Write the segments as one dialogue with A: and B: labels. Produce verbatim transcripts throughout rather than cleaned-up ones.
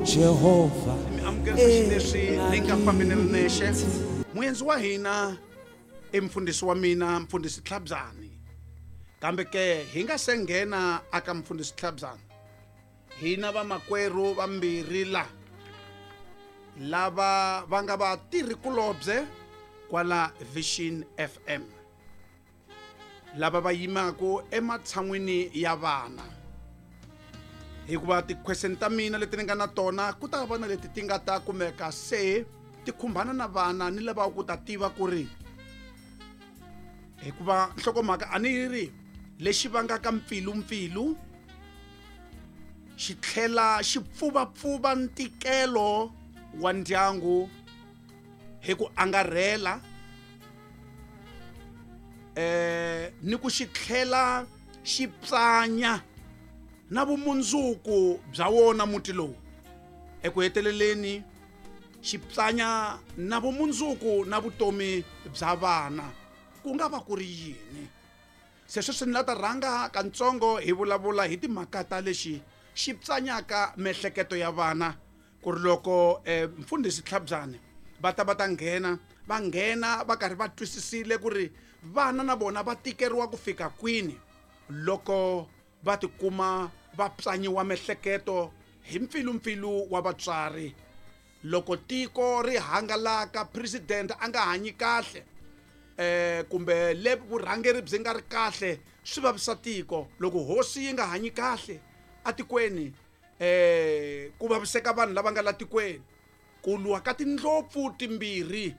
A: uJehova
B: Mi amukerisa xileswi ni nga fambi ni ri nexe. Muendzi wa hina i mfundhisi wa mina, mfundhisi Tlhabyani. Kambe ke hi nga se nghena aka mfundhisi Tlhabyani, hina vamakwerhu vambirhi la lava va nga vatirhikulobye kwala Vision F M, lava va yimaka ematshan'wini ya vana, hikuva ti-question ta mina leti ni nga na tona ku ta va na leti ti nga ta kumeka se ti khumbana na vana ni lava ku ta tiva ku ri, hikuva nhlokomhaka a ni yi ri lexi vangaka mpfilumpfilu xi tlhela xi pfuvapfuva ntikelo wa ndyangu hi ku angarhela, eh ni ku xi tlhela xi psanya na vumundzuku bya wona muti lowu. Eku heteleleni xi psanya na vumundzuku na vutomi bya vana, ku nga va ku ri yini? Se sweswi ni la ta rhanga kantsongo hi vulavula hi timhaka ta lexi xi psanyaka miehleketo ya vana, ku ri loko, eh, mfundhisi Tlhabyani va ta va ta nghena, va nghena va karhi va twisisile ku ri vana na vona va tikeriwa ku fika kwini loko va tikuma va psanyiwa miehleketo hi mpfilumpfilu wa vatswari. Loko tiko ri hangalaka, president a nga hanyi kahle, eh, kumbe le vurhangeri byi nga ri kahle, swi vavisa tiko. Loko hosi yi nga hanyi kahle atikweni, eh, ku vaviseka vanhu lava nga la tikweni. Ku lwa ka tindlopfu timbirhi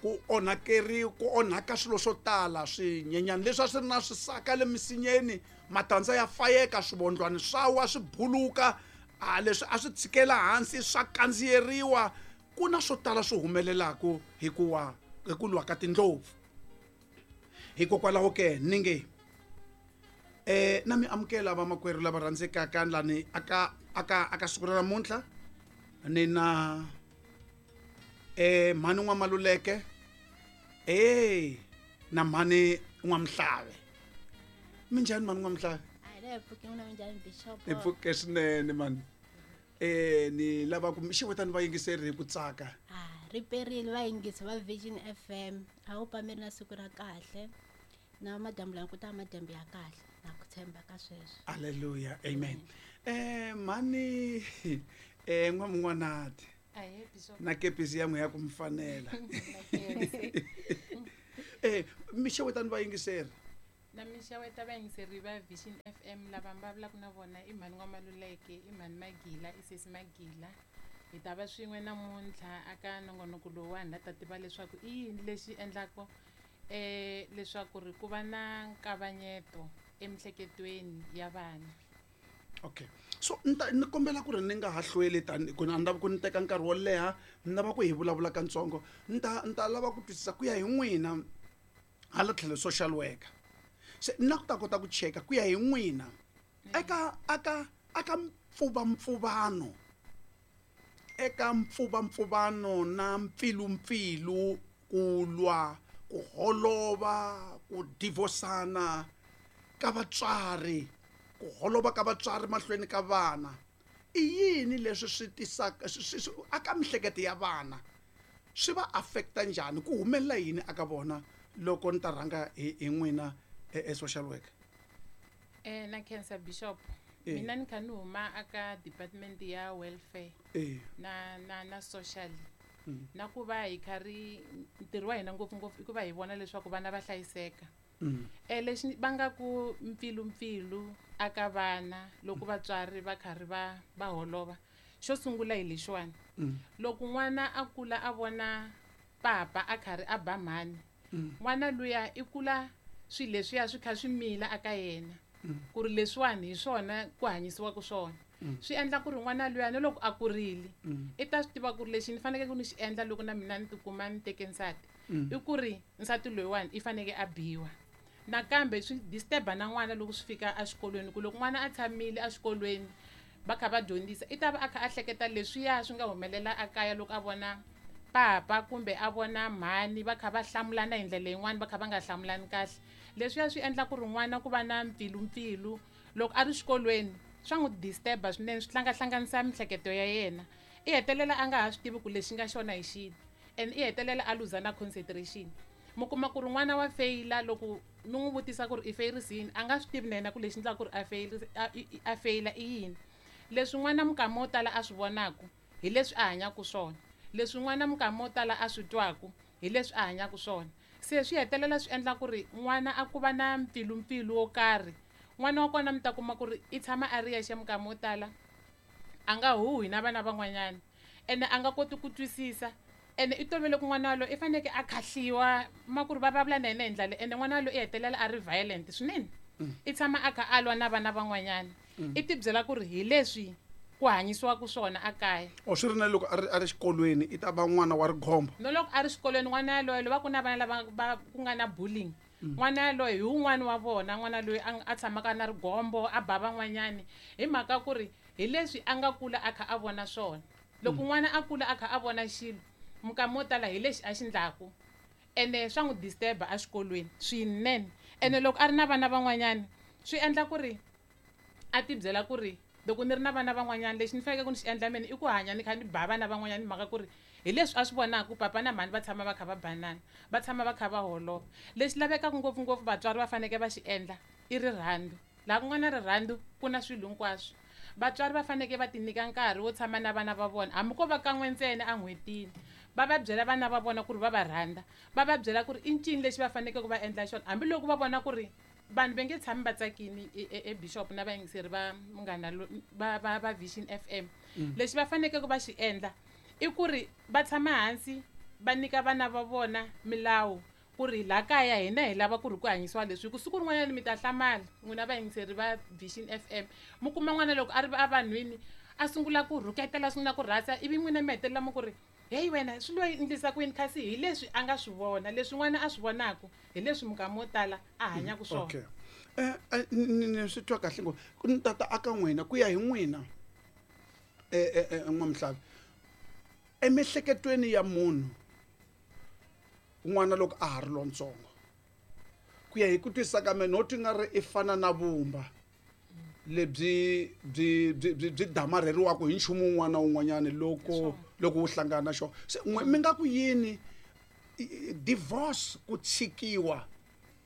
B: ku onhakeri, ku onhaka swilo swo tala, swinyenyani leswi a swi ri na swisaka le misinyeni, matandza ya fayeka, swivondlwani swa wa swi buluka, a leswi a swi tshikela hansi swa kandziyeriwa. Ku na swo tala swi humelelaka hi ku wa, hi ku lwa ka tindlopfu. Hikokwalaho ke ni nge, eh, na mi amukela vamakwerhu lava rhandzekaka lani aka, aka, aka siku ra namuntlha. Ni na, eh, mhani N'wamaluleke, eh, na mhani N'wamhlave. Minjhani mhani N'wamhlave?
C: A hi le pfuke n'wina, minjhani Bishop?
B: Hi pfuke swinene mhani. Eh, ni lava ku mi xewetani vayingiseri hi ku tsaka.
C: Ah, ri perile vayingisi va Vision F M. A wu pameri na siku ra kahle. Na madyambu lama ku ta madyambu ya kahle. Na ku tshemba ka sweswo.
B: Hallelujah, amen. Eh, mhani, eh, N'wamun'wanati.
D: Ahee, Bishop.
B: Na kepisi ya n'wi ya ku mi fanela. Eh, mi xewetani vayingiseri.
D: Na mi xeweta vayingiseri va Vision F M lava mi vulavulaka na vona i mhani N'wamaluleke, i mhani Magila, i sesi Magila. Hi ta va swin'we namuntlha aka nongonoko lowuwani la ta tiva leswaku i yini lexi endlaka, eh, leswaku ri ku va na nkavanyeto emiehleketweni ya vana.
B: Okay. So ni ta, ni kombela ku ri ni nga ha hlweli tani, ku ni lava ku ni teka nkarhi wo leha, ni lava ku hi vulavula katsongo. Ni ta, ni ta lava ku twisisa ku ya hi n'wina hala tlhelo social worker. Se ni la ku ta kota ku cheka ku ya hi n'wina eka, aka, aka mpfuvampfuvano, eka mpfuvampfuvano na mpfilumpfilu, ku lwa, ku holova, ku divhosana ka vatswari, ku holova ka vatswari mahlweni ka vana. I yini leswi swi tisaka, swi, swi, swi, aka miehleketo ya vana swi va affecta njhani? Ku humelela yini aka vona loko ni ta rhanga hi, hi n'wina e, e social worker?
D: Eh, na khensa Bishop.
B: Eh.
D: Mina ni kha ni huma aka department ya welfare
B: Eh.
D: na, na, na social.
B: Mm.
D: Na ku va hi kha ri ntirho wa hina ngopfungopfu i ku va hi vona leswaku vana va hlayiseka.
B: Mm.
D: Eh, lexi va nga ku mpfilumpfilu aka vana loko vatswari va karhi va, va holova, xo sungula hi lexiwani.
B: Mm.
D: Loko n'wana a kula a vona papa a karhi a ba mhani,
B: Mm.
D: n'wana luya i kula swilo leswiya swi kha swi mila aka yena.
B: Mm.
D: Ku ri leswiwani hi swona ku hanyisiwaka swona.
B: Mm.
D: Swi endla ku ri n'wana luya na loko a kurile,
B: Mm.
D: i ta swi tiva ku ri lexi ni fanekele ku ni xi endla loko na mina ni tikuma ni teke nsati,
B: Mm.
D: i ku ri nsati loyiwani i fanekele a biwa. Nakambe swi disturb-a na n'wana loko swi fika exikolweni, ku loko n'wana a tshamile exikolweni va kha va dyondzisa, i ta va a kha a hleketa leswiya swi nga humelela ekaya loko a vona papa kumbe a vona mhani va kha va hlamulana hi ndlela yin'wani va kha va nga hlamulani kahle. Leswiya swi endla ku ri n'wana ku va na mpfilumpfilu loko a ri xikolweni, Swa n'wi disturb-a swinene, swi hlangahlanganisa miehleketo ya yena. I hetelela a nga ha swi tivi ku lexi nga xona hi xini, and i hetelela a luza na concentration. Mi kuma ku ri n'wana wa feyila, loko mi n'wi vutisa ku ri i feyirise yini, a nga swi tivi na yena ku lexi endlaka ku ri a a a feyila i yini. Leswi n'wana minkama wo tala a swi vonaku hi leswi a hanyaka swona, leswi n'wana minkama wo tala a swi twaku hi leswi a hanyaka swona. Se swi hetelela swi endla ku ri n'wana a ku va na mpfilumpfilu wo karhi. N'wana wa kona mi ta kuma ku ri i tshama a ri yexe minkama wo tala, a nga huhi na vana van'wanyana, ene a nga koti ku twisisa. Ene i tolovele ku n'wana waloye i fanekele a khahliwa, ma ku ri va vulavula na yena hi ndlela leyi, ene n'wana waloye i hetelela a ri violent swinene. I tshama a kha a lwa na vana van'wanyana. I ti byela ku ri hi leswi ku hanyisiwaka swona a kaya.
B: O swi ri na loko a ri a ri xikolweni i ta va n'wana wa righombo.
D: No loko a ri xikolweni n'wana yaloye loko va ku na vana lava va ku nga na bullying, n'wana yaloye hi wun'wani wa vona, n'wana loyi a a tshamaka na rigombo, a ba van'wanyani, hi mhaka ku ri hi leswi a nga kula a kha a vona swona. Loko n'wana a kula a kha a vona xilo, minkama wo tala hi lexi a xi ndlaku, ene swa n'wi disturb-a exikolweni swinene. Ene loko a ri na vana van'wanyana swi endla ku ri a ti byela ku ri loko ni ri na vana van'wanyana lexi ni faneleke ku ni xi endla mina i ku hanya ni kha ni ba vana van'wanyana, hi mhaka ku ri hi leswi a swi vonaka papa na mhani va tshama va kha va banana, va tshama va kha va holova. Lexi lavekaka ngopfungopfu vatswari va fanekele va xi endla i rirhandzu. Laha ku nga na rirhandzu ku na swilo hinkwaswo. Vatswari va fanekele va ti nyika nkarhi wo tshama na vana va vona, hambi ko va kan'we ntsena en'hwetini, va va byela vana va vona ku ri va va rhandza, va va byela ku ri i ncini lexi va fanekele ku va endla xona, hambiloko va vona ku ri vanhu va nge tshami va tsakini e bishop na vayingiseri va munghana va va va Vision F M. Lexi va fanekele ku va xi endla i ku ri va tshama hansi va nyika vana va vona milawu ku ri laha kaya hina hi lava ku ri ku hanyisiwa leswi, ku siku rin'wanyana mi ta hlamala n'wina vayingiseri va Vision F M, mi kuma n'wana loko a ri evanhwini a sungula ku rhuketela, a sungula ku rhasa, ivi n'wina mi hetelela mi ku ri heyi wena swi lo endlisa ku yini, kasi hi leswi a nga swi vona, leswi n'wana a swi vonaka hi leswi minkama wo tala a hanyaka swona.
B: Okay. Eh ni swi twa kahle ngopfu. Ni tata aka n'wina ku ya hi n'wina eh eh N'wamihlavi, emiehleketweni ya munhu n'wana loko a ha ri lontsongo, ku ya hi ku twisisa ka mina, no twi nga ri i fana na vumba lebyi byi byi byi byi damarheriwaka hi nchumu wun'wana na wun'wanyana loko loko wu hlangana na xona. Se n'we mi nga ku yini divorce, ku tshikiwa,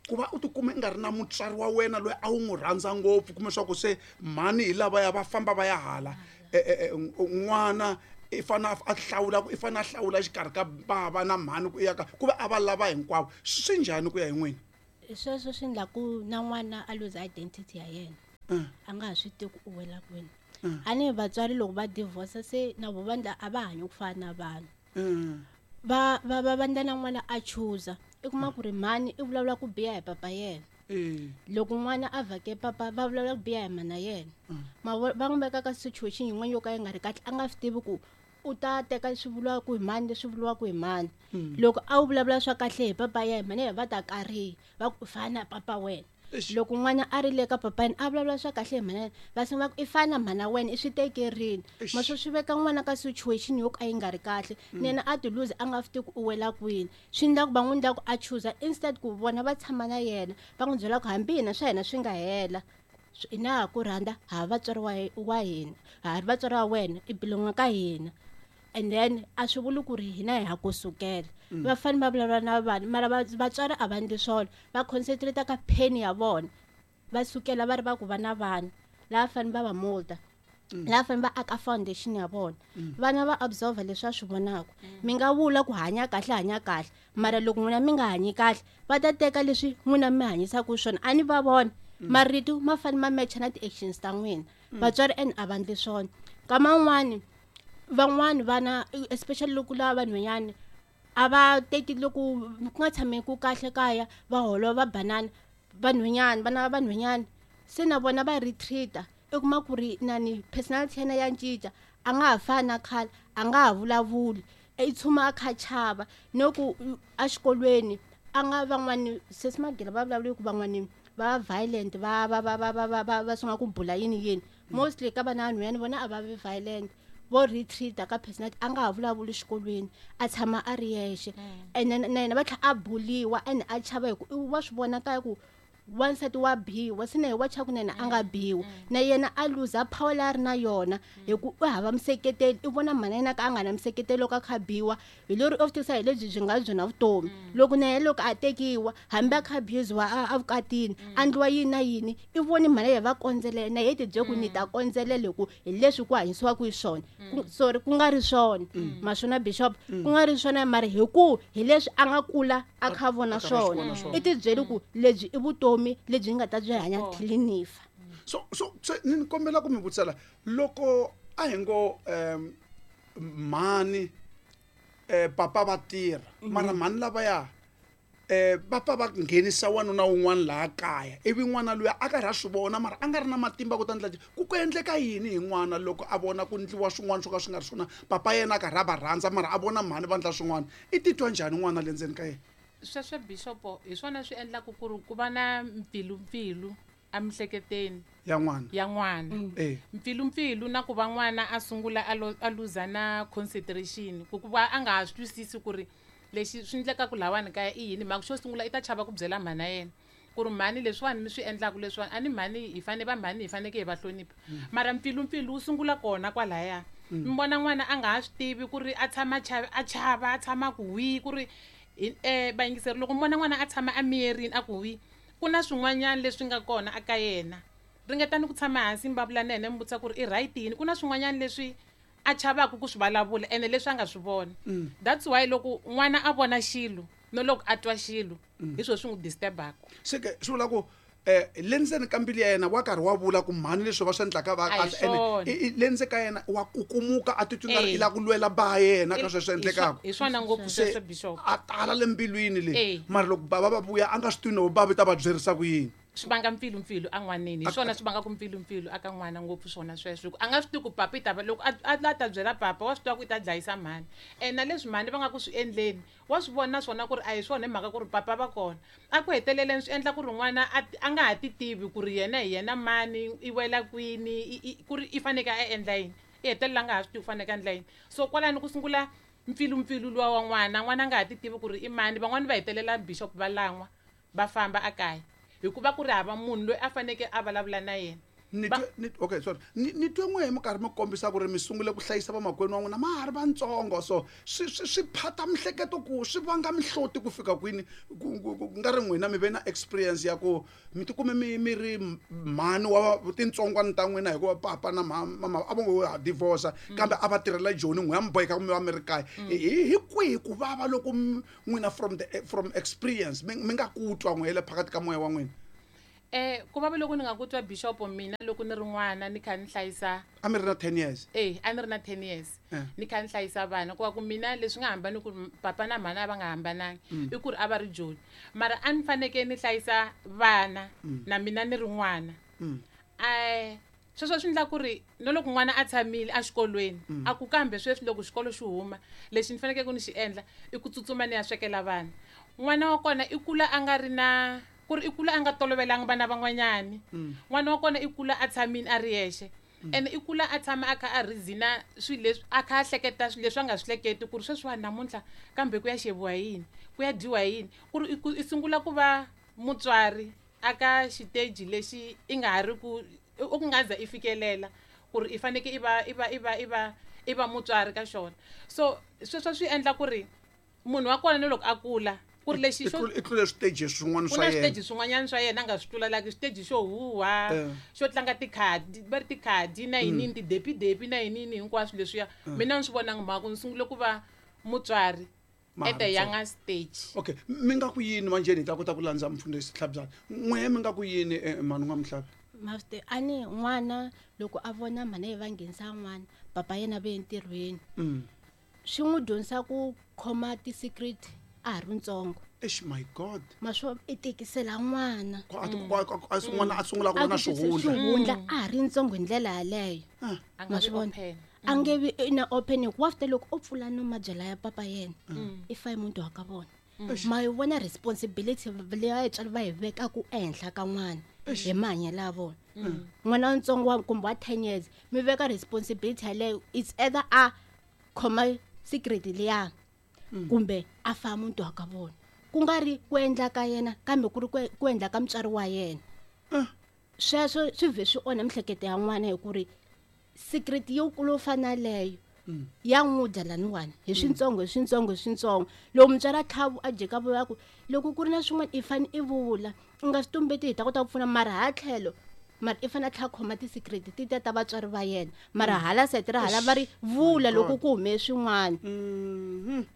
B: ku va u tikuma i nga ri na mutswari wa wena loyi a wu n'wi rhandza ngopfu, kumbe swa ku se mhani hi lavaya va famba va ya hala, n'wana i fane a hlawula, i fane a hlawula xikarhi ka bava na mhani ku ya ka ku va a va lava hinkwavo, swi njhani ku ya hi n'wina?
C: Sweswo swi endla ku na n'wana a lose identity ya yena, a nga ha swi tivi ku u wela kwini. A ni vatswari loko va divorce se na vo vandla a va hanyi ku fana na vanhu, va va va vandla na n'wana a chuza, i kuma ku ri mhani i vulavula ku biha hi papa yena, loko n'wana a vhake papa va vulavula ku biha hi mana yena, ma va n'wi veka ka situation yin'wana yo ka yi nga ri kahle, a nga swi tivi ku u ta teka leswi vuriwaka hi mani, leswi vuriwaka hi mani. Loko a wu vulavula swa kahle hi papa yena, mhani yena va ta kariha va ku fana papa wena. Loko n'wana a ri le ka papa yena a vulavula swa kahle hi mhana yena, va sungula ku i fana mhana wena i swi tekerini. Maswo swi veka n'wana ka situation yo ka yi nga ri kahle, na yena a ti lose a nga swi tivi ku u wela kwini. Swi endla ku va n'wi endla ku a chuza instead ku vona va tshama na yena va n'wi byela ku hambi hina swa hina swi nga hela, hina ha ku rhandza, ha vatswari wa wa hina, ha ri vatswari wa wena, i belonga ka hina. And then a swi vuli ku ri hina hi ha ku sukela. Va fanele va vulavula na vanhu, mara vatswari a va endli swona, va concentrate ka pain ya vona, va sukela va ri va ku va na vana lava fanele va va molda, lava fanele va aka foundation ya vona. Vana va absorb leswi va swi vonaka. Mi nga vula ku hanya kahle, hanya kahle, mara loko n'wina mi nga hanyi kahle, va ta teka leswi n'wina mi hanyisaka swona, a ni va vona marito ma fanele ma matcha na ti-actions ta n'wina. Vatswari and a va endli swona. Nkama wun'wani van'wani vana, especially loko lava vanhwanyana a va teki loko ku nga tshami ku kahle kaya, va holova va banana, vanhwanyana vana va vanhwanyana se na vona va retreat-a, i kuma ku ri nani personality ya yena ya cinca, a nga ha fani na khale, a nga ha vulavuli, i tshuma a kha chava. No ku exikolweni a nga van'wani sesi Magila va vulavula ku van'wani va violent, va va va va va va va va sungula ku bula yini yini. Mostly ka vana vanhwanyana vona a va vi violent, vo retreat ka personality, a nga ha vulavuli xikolweni, a tshama a ri yexe. Ene na yena va tlhela a buliwa, ene a chava hi ku wa swi vona kaya ku Wansati wa biwa se na hi wa chaku na yena a nga biwa na yena a luza power leyi a ri na yona hi ku u hava museketeli i vona mhana yena ka a nga na museketeli loko a kha biwa hi lori u tivisa hi lebyi byi nga byona vutomi loko na yena loko a tekiwa hambi a kha abusiwa a evukatini a ndliwa yini na yini i voni mhana yena va kondzelela na yena ti byele ku ni ta kondzelela hi ku hi leswi ku hanyisiwaka hi swona sorry ku nga ri swona maswona bishop ku nga ri swona mara hi ku hi leswi a nga kula a kha vona swona i ti byele ku lebyi i vutomi lebyi nga ta byi hanya till ni fa.
B: So so so ni kombela ku mi vutisela loko a hi ngo um mhani eh papa va tirha mara mhani lavaya eh papa va nghenisa wanuna wun'wana laha kaya ivi n'wana luya a karhi a swi vona mara a nga ri na matimba ku ta ndla ku ku endleka yini hi n'wana loko a vona ku ndliwa swin'wana swo ka swi nga ri swona papa yena a karhi a va rhandza mara a vona mhani va ndla swin'wana i titwa njhani n'wana le ndzeni ka yena?
D: Sweswo bishop hi swona swi endlaka ku ri ku va na mpfilumpfilu emihleketweni
B: ya n'wana
D: ya n'wana mpfilumpfilu na ku va n'wana a sungula a luza na concentration ku ku va a nga ha swi twisisi ku ri lexi swi endlekaka lahawani kaya i yini mhaka xo sungula i ta chava ku byela mhana yena ku ri mhani leswiwani mi swi endlaka leswiwani a ni mhani hi fane va mhani hi faneke hi va hlonipha mara mpfilumpfilu wu sungula kona kwalaya mi vona n'wana a nga ha swi tivi ku ri a tshama a chava a tshama ku wihi ku ri eh vayingiseri loko mi vona n'wana a tshama a miyerini a ku wi ku na swin'wanyana leswi nga kona aka yena ringetani ku tshama hansi mi vulavula na yena mi vutisa ku ri i right yini ku na swin'wanyana leswi a chavaka ku swi vulavula ene leswi a nga swi vona. That's why loko n'wana a vona xilo no loko a twa xilo hi swo swi n'wi disturbaka
B: se ke swi vula ku eh le ndzeni ka mbilu ya yena wa karhi wa vula ku mhani leswi va swi endlaka va kahle ene le ndzeni ka yena wa kukumuka a titwi nga ri i lava ku lwela ba yena ka sweswo endlekaka
D: hi swona ngopfu sweswo bishop
B: a tala le mbilwini le mara loko baba va vuya a nga swi tivi no baba ta va byerisa ku yini
D: swi vanga mpfilumpfilu en'waneni hi swona swi vangaka mpfilumpfilu aka n'wana ngopfu swona sweswo hi ku a nga swi tivi ku papa i ta va loko a a ta byela papa wa swi tiva ku i ta dlayisa mhani ene na leswi mhani va nga ku swi endleni wa swi vona naswona ku ri a hi swona hi mhaka ku ri papa va kona a ku heteleleni swi endla ku ri n'wana a a nga ha ti tivi ku ri yena hi yena mani i wela kwini ku ri i faneke a endla yini i hetelela a nga ha swi tivi ku faneke a endla yini so kwalano ku sungula mpfilumpfilu luwa wa n'wana n'wana a nga ha ti tivi ku ri i mani van'wani va hetelela bishop va lan'wa va famba ekaya hikuva ku ri hava munhu loyi a faneke a vulavula na yena.
B: Ni ni okay sorry ni ni twe n'we hi minkarhi mi kombisa ku ri mi sungule ku hlayisa vamakwenu wa n'wina ma ha ri vantsongo so swi swi swi phata mihleketo ku swi vanga mihloti ku fika kwini ku nga ri n'wina mi ve na experience ya ku mi tikume mi mi ri mhani wa tintsongwana ta n'wina hikuva papa na mama a va ngo ha divorce kambe a va tirhela joni n'we ya mi boheka ku mi va mi ri kaya hi hi kwihi ku vava loko n'wina from the from experience mi mi nga ku twa n'we le phakathi ka moya wa n'wina?
D: Eh ku vava loko ni nga ku twa bishop mina loko ni ri n'wana ni kha ni hlayisa
B: a mi ri na ten years
D: eh a ni ri na ten years ni kha ni hlayisa vana ku va ku mina leswi nga hambani ku papa na mhana va nga hambanangi i ku ri a va ri joni mara a ni faneke ni hlayisa vana na mina ni ri n'wana eh sweswo swi endla ku ri no loko n'wana a tshamile exikolweni a ku kambe sweswi loko xikolo xi huma lexi ni fanekele ku ni xi endla i ku tsutsuma ni ya swekela vana n'wana wa kona i kula a nga ri na ku ri i kula a nga tolovelanga vana van'wanyani n'wana wa kona i kula a tshamile a ri yexe ene i kula a tshama a kha a reason-a swilo leswi a kha a hleketa swilo leswi a nga swi hleketi ku ri sweswiwani namuntlha kambe ku ya xeviwa yini ku ya dyiwa yini ku ri i sungula ku va mutswari aka xiteji lexi i nga ha ri ku u ku nga za i fikelela ku ri i faneke i va i va i va i va i va mutswari ka xona so sweswo swi endla ku ri munhu wa kona ni loko a kula ku ri lexi
B: xo i tlule switeji swin'wana
D: swa yena ku na switeji swin'wanyana swa yena a nga swi tlulalaki xiteji xo huha xo tlanga tikhadi va ri tikhadi na yinini tidepidepi na yinini hinkwaswo leswiya mina ni swi vonanga mhaka ni sungule ku va mutswari at a younger stage.
B: Okay mi nga ku yini manjheni hi ta kota ku landza mfundhisi Tlhabyana n'we mi nga ku yini mhani N'wamuhlavi?
C: Master ani n'wana loko a vona mhana yi va nghenisa n'wana papa yena ve entirhweni swi n'wi dyondzisa ku khoma ti-secret a ha ri ntsongo.
B: Eish my god
C: maswo i tikisela n'wana
B: a a n'wana a sungula ku vona swihundla
C: swihundla a ha ri ntsongo hi ndlela yaleyo
D: ma
C: swi vona a nge vi na open ku after loko o pfula no mabyala ya papa yena i fa muntu wa ka vona ma yi vona responsibility leyi vatswari va yi vekaku ehenhla ka n'wana hi mahanyelo ya vona n'wana wa ntsongo wa kumbe wa ten years mi veka responsibility yaleyo it's either a khoma secret liya kumbe a fa muntu wa ka vona. ku nga ri ku endla ka yena kambe ku ri ku endla ka mutswari wa yena. Sweswo swi vhe swi onha mihleketo ya n'wana hi ku ri secret yo kulu fana leyo ya n'wi dya laniwani hi swintsongo hi swintsongo hi swintsongo. Loko mutswari a tlhava a jika vuya ku loko ku ri na swin'wana i fane i vula u nga swi tumbeti hi ta kota ku pfuna mara ha tlhelo mara i fane a tlhela khoma ti-secret ti ta ta vatswari va yena mara hala sayiti ra hala va ri vula loko ku hume swin'wana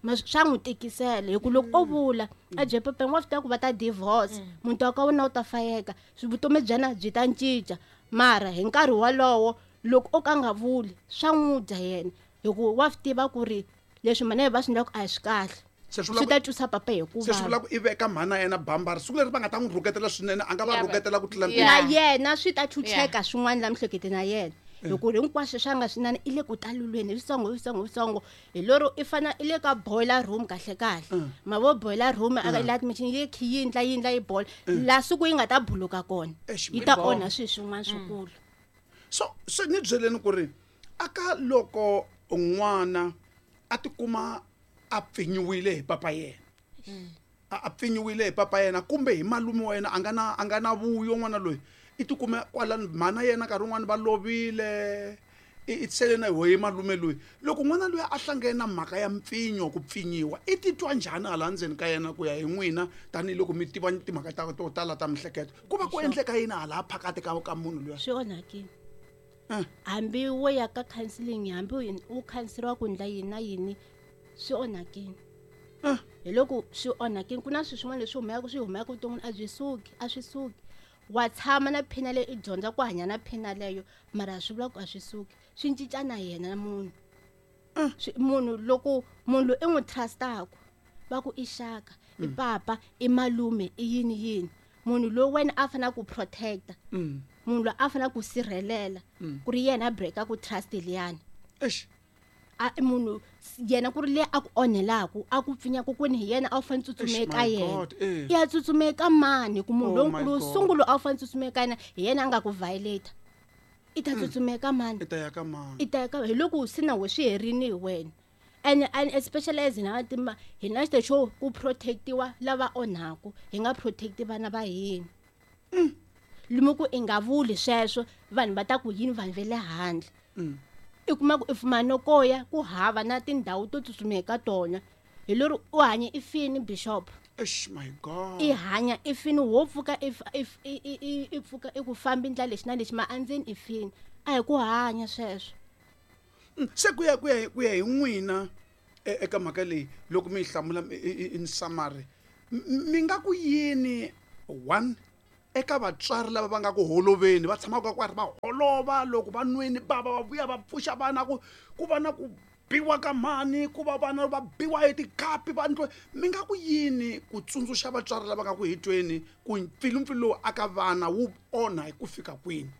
C: ma swa n'wi tikisela hi ku loko o vula a bye papa wa swi tiva ku va ta divorce muti wa ka wena wu ta fayeka vutomi bya yena byi ta cinca mara hi nkarhi wolowo loko o ka nga vuli swa n'wi dya yena hi ku wa swi tiva ku ri leswi mhana va swi endlaka a hi swi kahle swi ta twisa papa hi ku
B: se swi vula ku i veka mhana yena bambara siku leri va nga ta n'wi rhuketela swinene a nga va rhuketela ku tlula
C: na yena swi ta chucheka swin'wana la mihleketo na yena hi ku hinkwaswo swa nga swinene i le ku talulweni hi switsongo hi switsongo hi switsongo hi lero i fana i le ka boiler room kahle kahle ma vo boiler room a la machine yi khi yindla yindla yi boil la siku yi nga ta buluka kona yi ta onha swilo swin'wana swikulu.
B: So so ni byeleni ku ri aka loko n'wana a tikuma a pfinyiwile hi papa yena a pfinyiwile hi papa yena kumbe hi malume wa yena a nga na a nga na vuyo n'wana loyi i tikume kwala mhana yena nkarhi wun'wani va lovile i sele na hi malume loyi loko n'wana loyi a hlangene na mhaka ya mpfinyo ku pfinyiwa i titwa njhani hala ndzeni ka yena ku ya hi n'wina tanihiloko mi tiva timhaka ta to tala ta mihleketo ku va ku endleka yini hala phakati ka ka munhu luya
C: swi onhakile hambi wo ya ka counseling hambi u khanseriwa ku ndla yini na yini swi onhakile hi loko swi onhakile ku na swilo swin'wana leswi humaka swi humaka vuton'wini a byi suki a swi suki wa tshama na phina leyi i dyondza ku hanya na phina leyo mara swi vula ku a swi suki swi cinca na yena na munhu munhu loko munhu loyi i n'wi trust-aku va ku i xaka i papa i malume i yini yini munhu loyi wena a fanele ku protect-a munhu loyi a fanele ku sirhelela ku ri yena a break-a ku trust liyani
B: eish
C: a munhu yena ku ri le a ku onhelaku a ku pfinyaku kwini hi yena a wu fanele tsutsume eka yena i ya tsutsume eka mani ku munhu lonkulu sungula a wu fanele tsutsume eka yena hi yena a nga ku violate i ta tsutsume eka mani
B: i ta ya ka mani
C: i ta ya ka hi loko se na we swi herini hi wena and and especially as hina vantima hi na xo ku protectiwa lava onhaku hi nga protecti vana va hina lomu ku i nga vuli sweswo vanhu va ta ku yini vanhu va le handle i kuma ku i fumana ko ya ku hava na tindhawu to tsutsuma eka tona hi lero u hanya i fini bishop
B: eish my god
C: i hanya i fini wo pfuka i i i pfuka i ku fambi ndlela lexi na lexi ma andzeni i fini a hi ku hanya sweswo
B: se ku ya ku ya ku ya hi n'wina eka mhaka leyi loko mi yi hlamula in summary mi nga ku yini one eka vatswari lava va nga ku holoveni va tshamaka kwari va holova loko va nweni bava va vuya va pfuxa vana ku ku va na ku biwa ka mhani ku va vana va biwa hi tikhapi va ndlo mi nga ku yini ku tsundzuxa vatswari lava nga ku hitweni ku mpfilumpfilu lowu aka vana wu onha hi ku fika kwini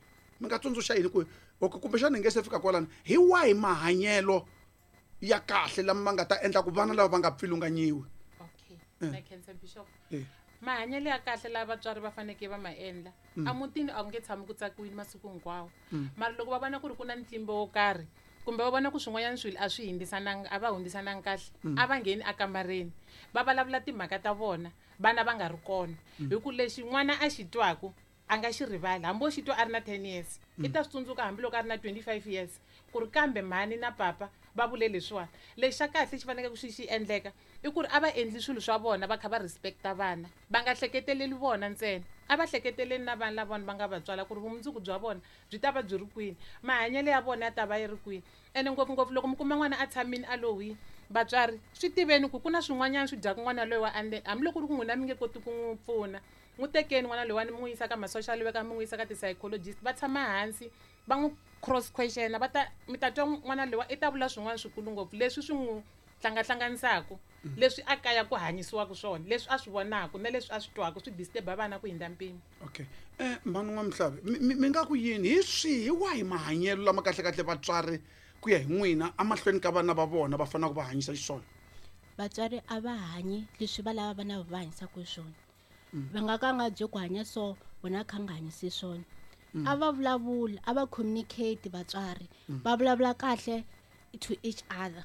B: mi nga tsundzuxa yini ku okay kumbexana hi nge se fika kwalano hi wahi mahanyelo ya kahle lama ma nga ta endla ku vana lava va nga pfilunganyiwi
D: okay na khensa bishop mahanyelo ya kahle lava vatswari va fanekele va ma endla emutini a ku nge tshami ku tsakiwini masiku hinkwawo mara loko va vona ku ri ku na ntlimbo wo karhi kumbe va vona ku swin'wanyana swilo a swi hundzisananga a va hundzisananga kahle a va ngheni akamareni va vulavula timhaka ta vona vana va nga ri kona hi ku lexi n'wana a xi twaku a nga xi rivali hambi o xi twa a ri na ten years i ta swi tsundzuka hambiloko a ri na twenty-five years ku ri kambe mhani na papa va vule leswiwani lexi xa kahle xi faneleke ku xi xi endleka i ku ri a va endli swilo swa vona va kha va respecta vana va nga hleketeleli vona ntsena a va hleketeleli na vanhu lava vona va nga va tswala ku ri vumundzuku bya vona byi ta va byi ri kwini mahanyelo ya vona ya ta va yi ri kwini ene ngopfungopfu loko mi kuma n'wana a tshamile a lo hwini vatswari swi tiveni ku ku na swin'wanyana swi dyaka n'wana loyi wa ande hambiloko ku ri ku n'wina mi nge koti ku n'wi pfuna n'wi tekeni n'wana loyiwani mi n'wi yisa ka ma-social worker mi n'wi yisa ka ti-psychologist va tshama hansi va n'wi cross question va ta mi ta twa n'wana loyiwa i ta vula swin'wana swikulu ngopfu leswi swi n'wi hlangahlanganisaka leswi a kaya ku hanyisiwaka swona leswi a swi vonaka na leswi a swi twaka swi disturb-a vana ku hindza mpimo
B: okay eh mhani n'wamihlavi mi nga ku yini hi swihi hi wahi mahanyelo lama kahlekahle vatswari ku ya hi n'wina emahlweni ka vana va vona va faneleke va hanyisa xiswona
C: vatswari a va hanyi leswi va lava vana va hanyisaka swona va nga ka nga byi ku hanya so vona kha nga hanyisi swona a va vulavuli a va communicate vatswari va vulavula kahle to each other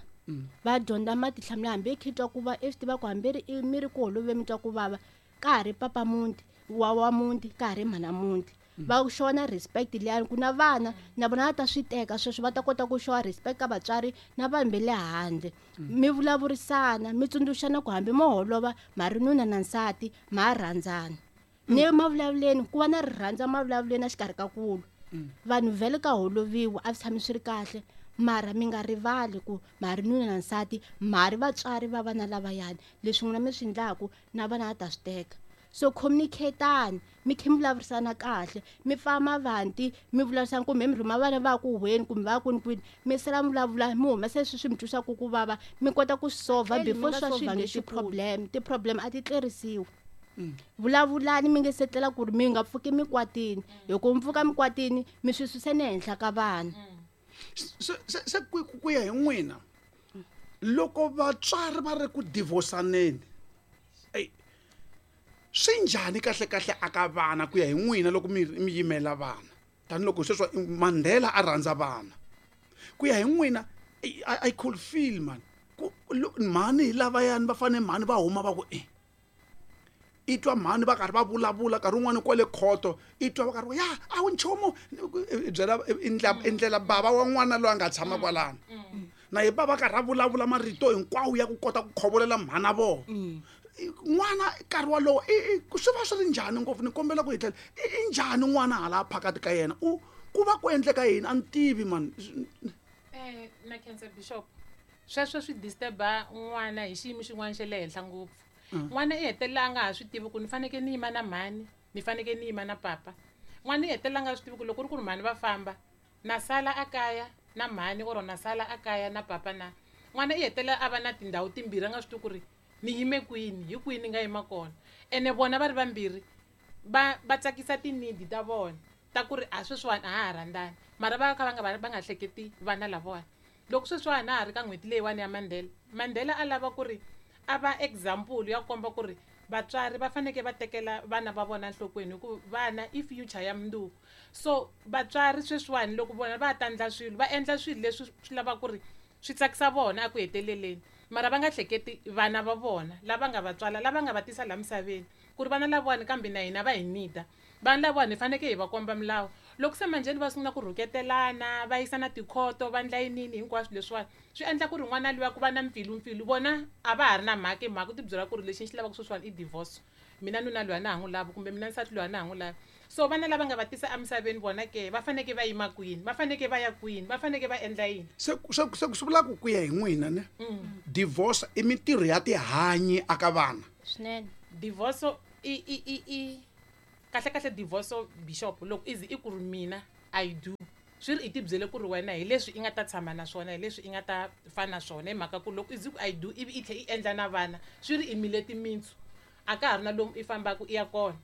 C: Va dyondza matihlamulelo hambi i twa ku va i swi tiva ku hambi ri mi ri ku holoveni mi twa ku vava ka ha ri papa muti wa wa muti ka ha ri mhana muti. Va xona respect liyani ku na vana na vona va ta swi teka sweswo va ta kota ku xowa respect ka vatswari na vanhu va le handle. Mi vulavurisana mi tsundzuxana ku hambi mo holova ma ri nuna na nsati ma rhandzana. Ni mavulavuleni ku va na rirhandzu mavulavuleni exikarhi ka kulu. Vanhu vhele ka holoviwa a swi tshami swi ri kahle mara mi nga rivali ku ma ri nuna na nsati ma ri vatswari va vana lavayani leswi n'wina mi swi endlaku na vana va ta swi teka. So communicate-ani mi kha mi vulavurisana kahle mi pfa mavanti mi vulavurisana kumbe mi rhuma vana va ku huhweni kumbe va kwini kwini mi sala mi vulavula mi humesa leswi swi mi twisaka ku vava mi kota ku solve before swa swi vange ti-problem. Ti-problem a ti tlerisiwi. Vulavulani mi nge se tlela ku ri mi nga pfuki mikwatini hi ku mi pfuka mikwatini mi swi susa ni henhla ka vana.
B: Se se ku ku ya hi n'wina loko vatswari va ri ku divorce-aneni swi njhani kahle kahle aka vana ku ya hi n'wina loko mi mi yimela vana tanihiloko sweswo Mandela a rhandza vana ku ya hi n'wina I, I could feel man ku mhani hi lavayani va fanele mhani va huma va ku e i twa mhani va karhi va vulavula nkarhi wun'wani kwale khoto i twa va karhi va ya a wu nchumu byela i ndlela bava wa n'wana loyi a nga tshama kwalano na hi bava karhi a vulavula marito hinkwawo ya ku kota ku khovolela mhana vona. N'wana nkarhi walowo swi va swi ri njhani ngopfu ni kombela ku hi tlhela i njhani n'wana hala phakati ka yena u ku va ku endleka yini a ni tivi man.
D: Eh na cancer bishop sweswo swi disturba n'wana hi xiyimo xin'wana xa le henhla ngopfu. N'wana i hetelela a nga ha swi tivi ku ni fanekele ni yima na mhani ni fanekele ni yima na papa. N'wana i hetelela a nga swi tivi ku loko ku ri ku ri mhani va famba na sala a kaya na mhani or na sala a kaya na papa na. N'wana i hetelela a va na tindhawu timbirhi a nga swi tivi ku ri ni yime kwini hi kwini ni nga yima kona. Ene vona va ri vambirhi va va tsakisa tinidi ta vona ta ku ri a sweswiwani a ha ha rhandzani mara va kha va nga va nga hleketi vana lavawani. Loko sweswiwani a ha ri ka n'hweti leyiwani ya Mandela, Mandela a lava ku ri a va example ya komba ku ri vatswari va fanekele va tekela vana va vona enhlokweni hi ku vana i future ya mundzuku. So vatswari sweswiwani loko vona va ta endla swilo va endla swilo leswi swi lavaka ku ri swi tsakisa vona eku heteleleni mara va nga hleketi vana va vona lava nga va tswala lava nga va tisa laha misaveni ku ri vana lavawani kambe na hina va hi nida. Vana lavawani hi fanekele hi va komba milawu. Loko se manjheni va sungula ku rhuketelana va yisa na tikhoto va endla yinini hinkwaswo leswiwani swi endla ku ri n'wana luya ku va na mpfilumpfilu vona a va ha ri na mhaka hi mhaka u ti byela ku ri lexi ni xi lavaka sweswiwani i divorce mina nuna luya na ha n'wi lavi kumbe mina nsati luya na ha n'wi lavi. So vana lava nga va tisa emisaveni vona ke va fanekele va yima kwini va fanekele va ya kwini va fanekele va endla yini.
B: Se se se swi vula ku ku ya hi n'wina ne divorce i mintirho ya tihanyi aka vana
C: swinene.
D: Divorce i i i i kahle kahle divorce bishop loko izi i ku ri mina I do swi ri i ti byele ku ri wena hi leswi i nga ta tshama na swona hi leswi i nga ta fana na swona hi mhaka ku loko izi ku I do ivi i tlhe i endla na vana swi ri i mile timintsu a ka ha ri na lomu i fambaka i ya kona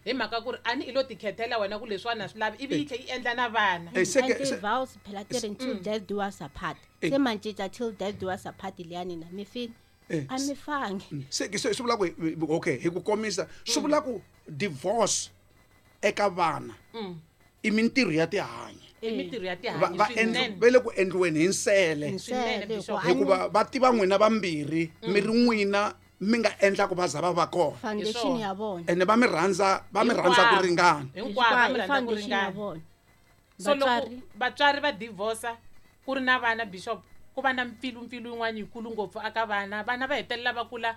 D: hi mhaka ku ri a ni i lo tikhethela wena ku leswiwani a swi lavi ivi i tlhe i endla na vana.
C: Ti-vows phela ti ri till death do us apart se ma cinca till death do us apart liyani na mi fini a mi fangi.
B: Se se swi vula ku okay hi ku komisa swi vula ku divorce eka vana i mintirho ya tihanyi
D: i mintirho ya tihanyi
B: va va le ku endliweni hi nsele hikuva va tiva n'wina vambirhi mi ri n'wina mi nga endla ku va za va va kona
C: foundation ya vona
B: ene va mi rhandza va mi rhandza ku ringana
D: hinkwavo va mi rhandza ku ringana. So loko vatswari va divorce ku ri na vana bishop ku va na mpfilumpfilu yin'wana yikulu ngopfu aka vana vana va hetelela va kula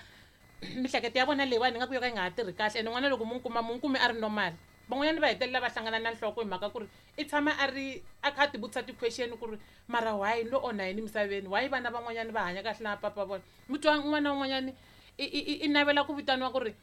D: mihleketo ya vona leyiwani nga ku yo ka yi nga ha tirhi kahle ene n'wana loko mu kuma mu kumi a ri normal van'wanyana va hetelela va hlangana na nhloko hi mhaka ku ri i tshama a ri a kha a ti vutisa ti-question ku ri mara why lo onha yini emisaveni why vana van'wanyana va hanya kahle na papa vona mi twa n'wana un'wanyani i i i navela ku vitaniwa ku ri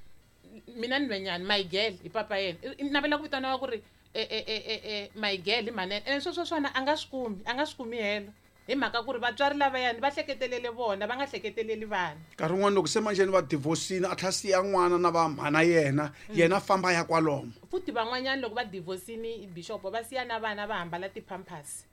D: mina nhwenyani my girl hi papa yena i navela ku vitaniwa ku ri e e e e my girl hi mhani ene sweswo swona a nga swi kumi a nga swi kumi helo hi mhaka ku ri vatswari lavayani va hleketelele vona va nga hleketeleli vana.
B: Nkarhi wun'wani loko se manjheni va divorce-ini a tlhela siya n'wana na va mhana yena yena famba ya kwalomo
D: futhi van'wanyana loko va divorce-ini bishop va siya na vana va hambala ti-pampers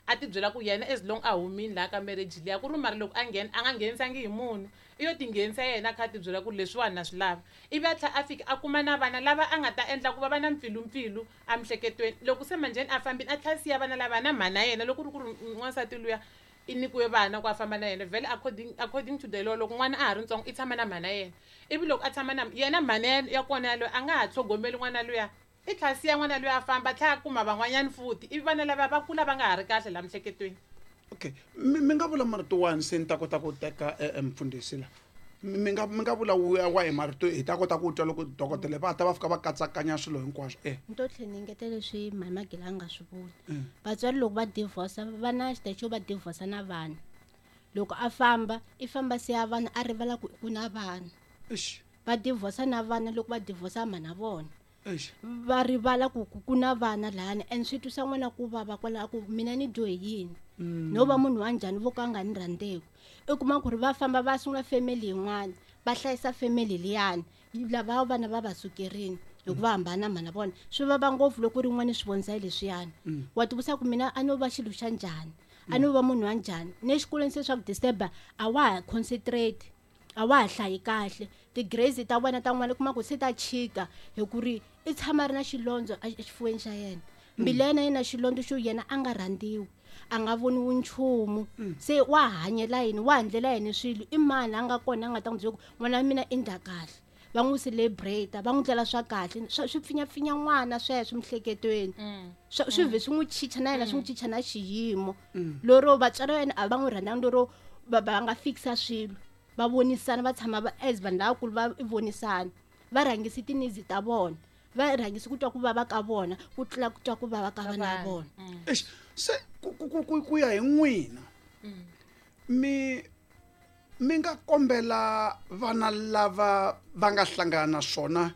D: a ti byela ku yena as long a humini laha ka marriage liya ku ri mara loko a nghena a nga nghenisangi hi munhu i yo ti nghenisa yena a kha a ti byela ku leswiwani na swi lava ivi a tlhela a fika a kuma na vana lava a nga ta endla ku va va na mpfilumpfilu emihleketweni loko se manjheni a fambile a tlhela siya vana lava na mhana yena loko ku ri ku ri n'wansati luya i nyikiwe vana ku a famba na yena vhele according according to the law loko n'wana a ha ri ntsongo i tshama na mhana yena ivi loko a tshama na yena mhana ya ya kona yaloye a nga ha tlhogomeli n'wana luya i tlhela siya n'wana luya a famba a tlhela a kuma van'wanyani futhi ivi vana lava va kula va nga ha ri kahle laha miehleketweni
B: okay mi mi nga vula marito wani se ni ta kota ku teka eh, eh, mfundhisi la mi mi nga mi nga vula wa wa hi marito hi ta kota ku twa loko dokodela va ta va fika va katsakanya swilo hinkwaswo eh
C: ni to tlhela ni engetela leswi mhani Magila a nga swi vula vatswari loko va divorce va na xitayi xo va divorce na vana loko a famba i famba siya vana a rivala ku ku na vana
B: eish
C: va divorce na vana loko va divorce mhana vona
B: eish
C: va rivala ku ku ku na vana lahani and swi twisa n'wana ku vava kwalaho ku mina ni dyohe yini no va munhu wa njhani vo ka a nga ni rhandzeki i kuma ku ri va famba va sungula family yin'wana va hlayisa family liyani lava vana va va sukerini hi ku va hambana mhana vona swi vava ngopfu loko rin'wana swi vonisa leswiyani wa tivutisa ku mina a no va xilo xa njhani a no va munhu wa njhani ne xikolweni se swa ku disturb-a a wa ha concentrate a wa ha hlayi kahle ti-grades ta wena ta n'wana u kuma ku se ta chika hi ku ri i tshama a ri na xilondzo exifuweni xa yena mbilu ya yena yi na xilondzo xo yena a nga rhandziwi a nga voniwi nchumu se wa hanyela yini wa ndlela yini swilo i mani a nga kona a nga ta n'wi byela ku n'wana wa mina i ndla kahle va n'wi celebrate va n'wi ndlela swa kahle swa swi pfinyapfinya n'wana sweswo miehleketweni swa swi vhe swi n'wi chicha na yena swi n'wi chicha na xiyimo lero vatswari va yena a va n'wi rhandzanga lero va va nga fikisa swilo va vonisana va tshama va as vanhu lavakulu va vonisana va rhangisi ti-needs ta vona va rhangisi ku twa ku vava ka vona ku tlula ku twa ku vava ka vana va vona
B: eish se ku ku ku ku ku ya hi n'wina mi mi nga kombela vana lava va nga hlangana na swona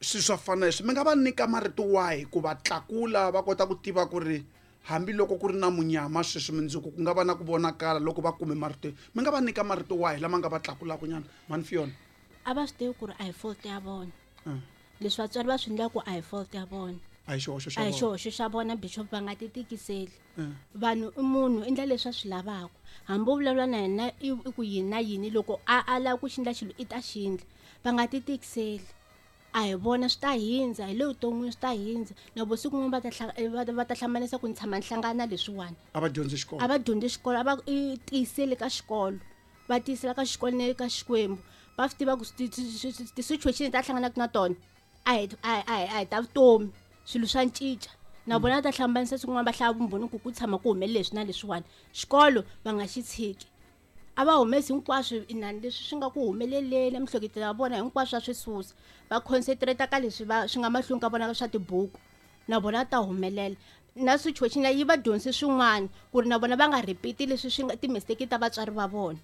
B: swilo swa fana leswi mi nga va nyika marito wahi ku va tlakula va kota ku tiva ku ri hambiloko ku ri na munyama sweswi mundzuku ku nga va na ku vonakala loko va kume marito mi nga va nyika marito wahi lama nga va tlakulaka nyana mhani Fiona
C: a va swi tivi ku ri a hi fault ya vona leswi vatswari va swi endlaku a hi fault ya vona
B: a hi xihoxo xa
C: a hi
B: vona
C: xihoxo xa vona bishop va nga ti tikiseli vanhu i munhu i endla leswi a swi lavaka hambi u vulavula na yena i i ku yini na yini loko a a lava ku xi endla xilo i ta xi endla va nga ti tikiseli a hi vona swi ta hindza hi le vuton'wini swi ta hindza na vo siku rin'wana va ta hla- va ta- va ta hlamarisa ku ni tshama ni hlangana na leswiwani
B: a va dyondzi xikolo
C: a va dyondzi xikolo a va i tiyiseli ka xikolo va tiyisela ka xikolo na le ka xikwembu va swi tiva ku ti- ti- ti- ti-situation leti a hlanganaka na tona a hi a hi a hi a hi ta vutomi swilo swa cinca na vona va ta hlambanisa siku rin'wana va hlaya vumbhoni ku ku tshama ku humelele leswi na leswiwani xikolo va nga xi tshiki a va humesi hinkwaswo inani leswi swi nga ku humeleleni emiehleketweni ya vona hinkwaswo va swi susa va concentrate ka leswi va swi nga mahlweni ka vona swa tibuku na vona va ta humelela na situation leyi yi va dyondzise swin'wana ku ri na vona va nga repeat leswi swi nga ti-mistake ta vatswari va vona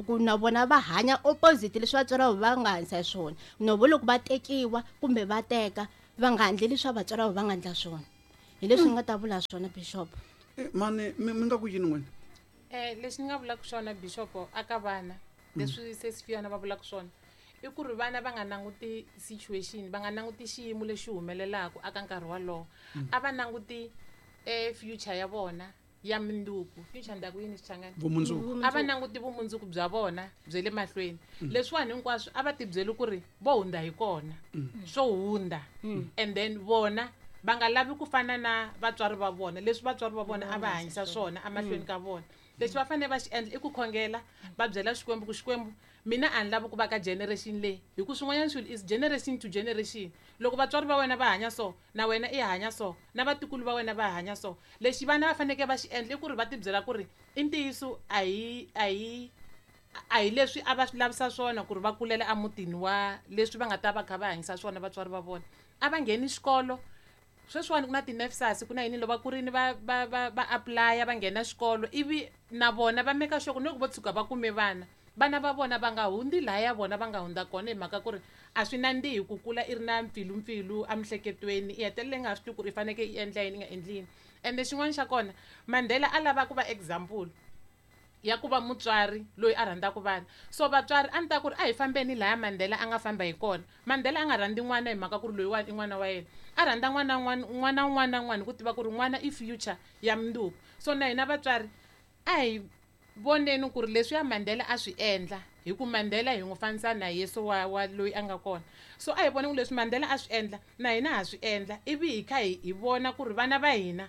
C: ku na vona va hanya opposite leswi vatswari va va nga hanyisa hi swona no vo loko va tekiwa kumbe va teka va nga endleli swa vatswari va va nga endla swona hi leswi ni nga ta vula swona bishop
B: Eh, mani mi mi nga ku yini n'wina
D: Eh lexi ni nga vulaka xona bishop aka vana leswi sesi Fiona va vulaka swona i ku ri vana va nga languti situation va nga languti xiyimo lexi humelelaka aka nkarhi wolowo a va languti eh future ya vona ya mundzuku future ndaku yini xichangani
B: vumundzuku
D: a va languti vumundzuku bya vona bya le mahlweni leswiwani hinkwaswo a va tibyeli ku ri vo hundza hi kona swo hundza and then vona va nga lavi ku fana na vatswari va vona leswi vatswari va vona a va hanyisa swona emahlweni ka vona lexi va fanele va xi endla i ku khongela va byela xikwembu ku xikwembu mina a ni lavi ku va ka generation leyi hi ku swin'wanyana swilo is generation to generation loko vatswari va wena va hanya so na wena i hanya so na vatukulu va wena va hanya so lexi vana va fanekele va xi endla i ku ri va tibyela ku ri i ntiyiso a hi a hi a hi leswi a va swi lavisa swona ku ri va kulela emutini wa leswi va nga ta va kha va hanyisa swona vatswari va vona a va ngheni xikolo sweswiwani ku na ti-NSFAS ku na yini loko va kurini va va va va apply-a va nghena xikolo ivi na vona va make sure ku ni loko vo tshuka va kume vana vana va vona va nga hundzi lahaya vona va nga hundza kona hi mhaka ku ri a swi nandzihi ku kula i ri na mpfilumpfilu emiehleketweni i hetelela i nga ha swi tivi ku ri i fanekele i endla yini i nga endli yini ende xin'wana xa kona Mandela a lava ku va example ya ku va mutswari loyi a rhandzaka vana so vatswari a ni ta ku ri a hi fambeni lahaya Mandela a nga famba hi kona Mandela a nga rhandzi n'wana hi mhaka ku ri loyiwani i n'wana wa yena a rhandza n'wana n'wana n'wana un'wana na un'wana hi ku tiva ku ri n'wana i future ya mundzuku so na hina vatswari a hi voneni ku ri leswiya Mandela a swi endla hi ku Mandela hi n'wi fanisa na Yesu wa wa loyi a nga kona so a hi voni ku leswi Mandela a swi endla na hina ha swi endla ivi hi kha hi hi vona ku ri vana va hina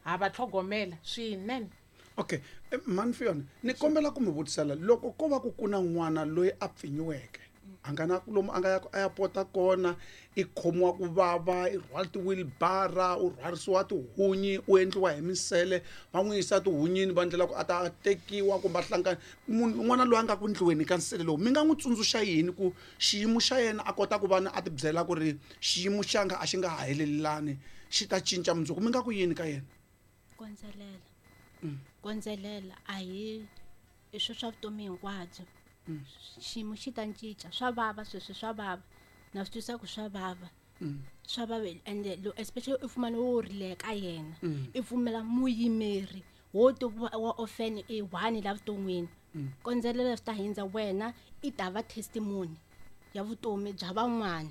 D: ha va tlhogomela swinene.
B: Okay, mhani Fiona, ni kombela ku mi vutisela loko ko va ku ku na n'wana loyi a pfinyiweke a nga na lomu a nga ya a ya pota kona, i khomiwa ku vava, i rhwala ti-wheelbarrow, u rhwarisiwa tihunyi, u endliwa hi misele, va n'wi yisa tihunyini va endlela ku a ta tekiwa kumbe a hlangana. Munhu n'wana loyi a nga ku ndliweni ka nsele lowu, mi nga n'wi tsundzuxa yini ku xiyimo xa yena a kota ku va a ti byela ku ri xiyimo xanga a xi nga ha helelani, xi ta cinca mundzuku, mi nga ku yini ka yena?
C: Kondzelela. Kondzelela a hi i swi swa vutomi hinkwabyo. Xiyimo xi ta cinca, swa vava sweswi, swa vava na swi twisisa ku swa vava, swa vava ende especially i fumane wo rile ka yena, i pfumela muyimeri wo to wa orphan i one la vuton'wini. Kondzelela swi ta hindza wena, i ta va testimony ya vutomi bya van'wana,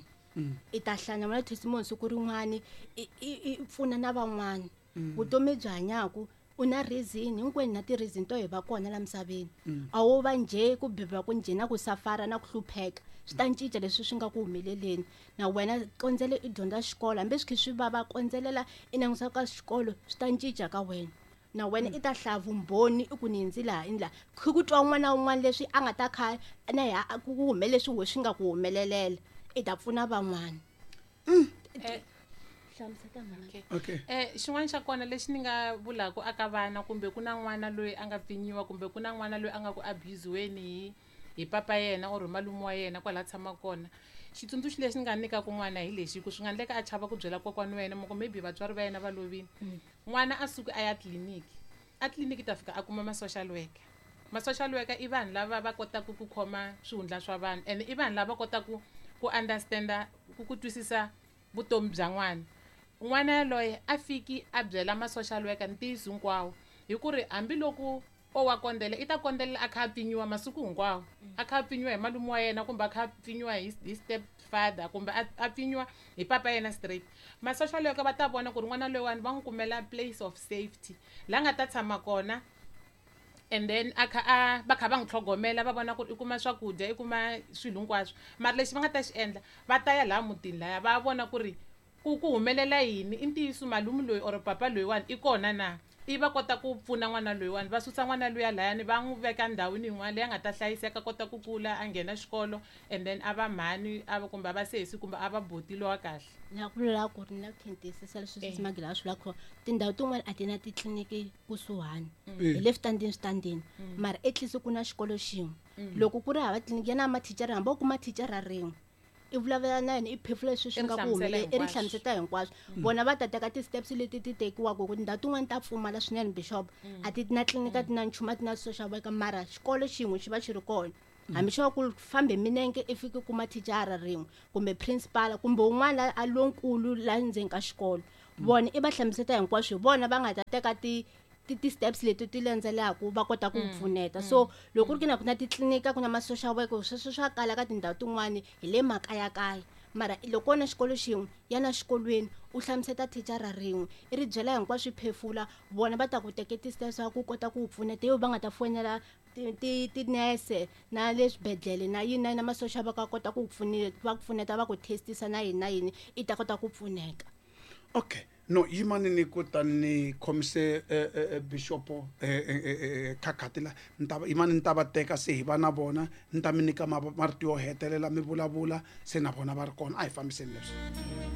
C: i ta hlangana na testimony siku rin'wani, i i pfuna na van'wana. Vutomi byi hanyaku u na reason, hinkwenu na ti-reason to hi va kona la misaveni. A wo va njhe ku beburiwa ku njhe na ku safara na ku hlupheka, swi ta cinca leswi swi nga ku humeleleni. Na wena kondzele i dyondza xikolo, hambi swi kha swi vava, kondzelela i langusa ka xikolo, swi ta cinca ka wena. Na wena i ta hlaya vumbhoni i ku ni hindzi laha i laha, kha ku twa un'wana na un'wana leswi a nga ta kha na ya ku humelele leswi we swi nga ku humelelela, i ta pfuna van'wana.
D: Okay. Okay. Eh xin'wana xa kona lexi ni nga vulaka aka vana, kumbe ku na n'wana loyi a nga pfinyiwa, kumbe ku na n'wana loyi a nga ku abusiweni hi hi papa yena or malume wa yena kwala tshama kona, xitsundzuxo lexi ni nga nyikaka n'wana hi lexi, ku swi nga endleka a chava ku byela kokwana wa yena, moko maybe vatswari va yena va lovile, n'wana a suki a ya tliliniki, a tliliniki ta fika a kuma ma social worker. Ma social worker i vanhu lava va kotaka ku khoma swihundla swa vanhu, and i vanhu lava kotaka ku understanda, ku ku twisisa vutomi bya n'wana. N'wana yaloye a fiki a byela ma social worker ntiyiso hinkwawo, hi ku ri hambiloko o wa kondzela, i ta kondzela a kha a pfinyiwa masiku hinkwawo, a kha a pfinyiwa hi malume wa yena, kumbe a kha a pfinyiwa hi hi step father, kumbe a pfinyiwa hi papa yena straight. Ma social worker va ta vona ku ri n'wana loyiwani va n'wi kumela place of safety la nga ta tshama kona, and then a kha a va kha va n'wi tlhogomela, va vona ku ri i kuma swakudya, i kuma swilo hinkwaswo. Mara lexi va nga ta xi endla, va ta ya laha mutini laya va vona ku ri ku ku humelela yini, i ntiyiso malume loyi or papa loyiwani i kona na, i va kota ku pfuna n'wana loyiwani, va susa n'wana luya layani va n'wi veka ndhawini yin'wana leyi a nga ta hlayiseka, kota ku kula a nghena xikolo, and then a va mhani a va kumbe a va sesi kumbe a va buti lowa kahle.
C: Na ku vula ku ri na khentisisa leswi swi Magila swi vula ku tindhawu tin'wana a ti na titliliniki kusuhani, hi le switandini switandini, mara at least ku na xikolo xin'we. Loko ku ri hava tliliniki ya na mathicara, hambi wo kuma thicara rin'we, i vulavula na yena, i phefula leswi swi nga ku humelela, i ri hlamusela hinkwaswo. Vona va ta teka ti-steps leti ti tekiwaka, ku tindhawu tin'wani ta pfumala swinene bishop, a ti na tliliniki, a ti na nchumu, a ti na social worker, mara xikolo xin'we xi va xi ri kona. Hambi xo va ku fambe minenge i fiki kuma thicara rin'we kumbe principal kumbe un'wana a lonkulu la ndzeni ka xikolo, vona i va hlamusela hinkwaswo, hi vona va nga ta teka ti ti steps leti ti landzelaka va kota ku pfuneta. So loko ku ri na ku na titliliniki, ku na ma social worker, sweswo swa kala ka tindhawu tin'wani hi le makayakaya, mara loko na xikolo xin'we ya na xikolweni, u hlamusela thicara rin'we, i ri byela hinkwaswo, phefula, vona va ta ku teka ti-steps va ku kota ku pfuneta, yo va nga ta fonela ti tinese na le swibedhlele na yini na yini, na ma social worker kota ku pfuneta, va ku pfuneta, va ku testisa na yini na yini, i ta kota ku pfuneka.
B: Okay. No, yimani ni ku ta ni khomise bishop khakhati la, ni ta yimani ni ta va teka se hi va na vona, ni ta mi nyika marito yo hetelela mi vulavula se na vona va ri kona. A hi fambiseni leswi.